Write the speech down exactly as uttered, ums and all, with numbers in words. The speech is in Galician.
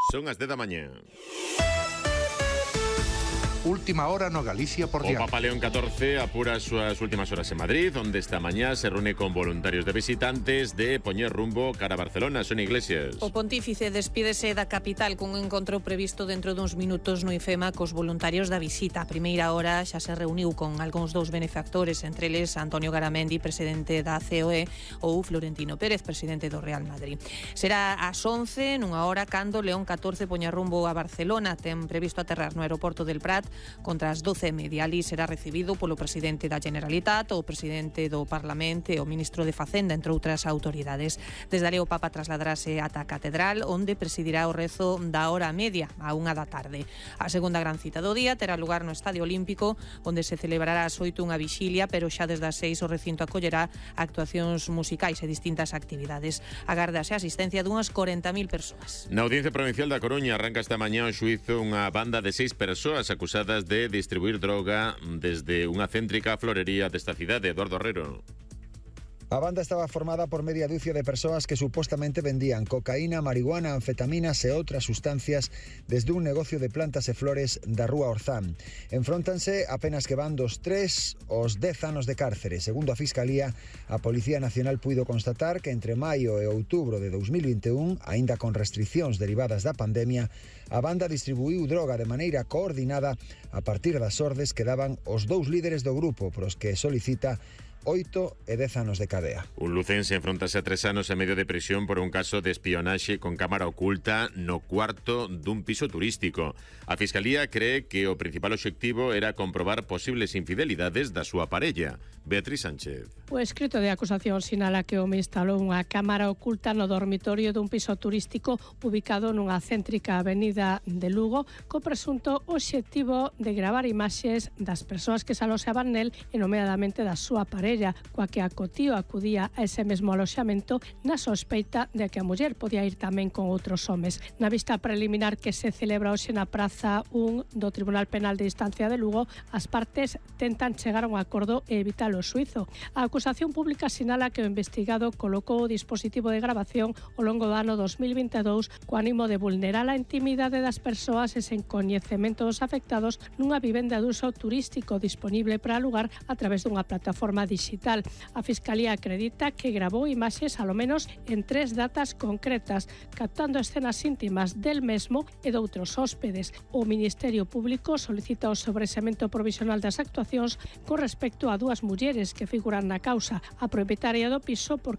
Son as dez da mañá. Última hora no Galicia por O diante. Papa León catorce apura as súas últimas horas en Madrid, onde esta mañá se reúne con voluntarios de visitantes de poñer rumbo cara a Barcelona. Son Iglesias. O pontífice despídese da capital cun encontro previsto dentro duns minutos no IFEMA cos voluntarios da visita. A primeira hora xa se reuniu con algúns dous benefactores, entre eles Antonio Garamendi, presidente da C O E, ou Florentino Pérez, presidente do Real Madrid. Será ás once, nunha hora, cando León catorce poña rumbo a Barcelona. Ten previsto aterrar no aeroporto del Prat contra as doce e media. Ali será recibido polo presidente da Generalitat, o presidente do Parlamento e o ministro de Facenda, entre outras autoridades. Desde ali o Papa trasladarase ata a Catedral, onde presidirá o rezo da hora media, a unha da tarde. A segunda gran cita do día terá lugar no Estadio Olímpico, onde se celebrará ás oito unha vixilia, pero xa desde as seis o recinto acollerá actuacións musicais e distintas actividades. Agárdase a asistencia dunhas corenta mil persoas. Na Audiencia Provincial da Coruña arranca esta mañá o xuízo unha banda de seis persoas acusadas de distribuir droga desde unha céntrica florería desta cidade. Eduardo Herrero. A banda estaba formada por media dúcia de persoas que supostamente vendían cocaína, marihuana, anfetaminas e outras sustancias desde un negocio de plantas e flores da Rúa Orzán. Enfróntanse apenas que van dos tres aos dez anos de cárcere. Segundo a Fiscalía, a Policía Nacional puido constatar que entre maio e outubro de dous mil vinte e un, aínda con restricións derivadas da pandemia, a banda distribuíu droga de maneira coordinada a partir das ordes que daban os dous líderes do grupo, pros que solicita oito e dez anos de cadea. Un lucense enfrontase a tres anos e medio de prisión por un caso de espionaxe con cámara oculta no cuarto dun piso turístico. A Fiscalía cree que o principal obxectivo era comprobar posibles infidelidades da súa parella. Beatriz Sánchez. O escrito de acusación sinala que o home instalou unha cámara oculta no dormitorio dun piso turístico ubicado nunha céntrica avenida de Lugo, co presunto obxectivo de gravar imaxes das persoas que se aloxaban nel e nomeadamente da súa parella, coa que a cotío acudía a ese mesmo aloxamento na sospeita de que a muller podía ir tamén con outros homes. Na vista preliminar que se celebra hoxe na Praza un do Tribunal Penal de Instancia de Lugo, as partes tentan chegar a un acordo e evitar o suizo. A acusación pública sinala que o investigado colocou o dispositivo de grabación ao longo do ano dos mil vinte e dous co ánimo de vulnerar a intimidade das persoas e sen coñecemento dos afectados nunha vivenda de uso turístico disponible para alugar a través dunha plataforma digital. A Fiscalía acredita que grabou imaxes alo menos en tres datas concretas, captando escenas íntimas del mesmo e de outros hóspedes. O Ministerio Público solicita o sobresemento provisional das actuacións con respecto a dúas mulleres que figuran na causa, a propietaria do piso por